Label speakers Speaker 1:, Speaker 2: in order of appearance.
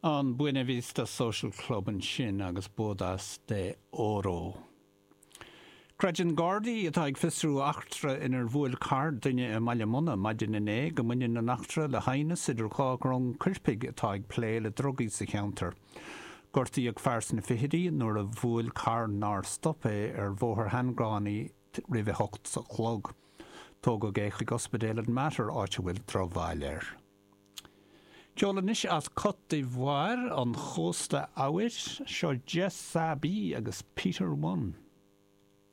Speaker 1: An Buena Vista Social Club ansin agus Bodas de Oro. Creideann Gardaí atá ag fiosrú eachtra inar bhuail carr duine i mBaile Munna maidin inné go mbaineann an eachtra le haighneas idir dha dhrong coirpigh atá ag plé le drugaí sa cheantar. Gortaíodh fear sna fichidí nuair a bhuail carr nár stop é ar Bhóthar Sheangánaí roimh a hocht a chlog. Tógadh é chuig ospidéal an Mater áit a bhfuil drochbhail air. Ceol anois as Côte d'Ivoire, an chósta eabhair. Seo Jessabee agus Peter One.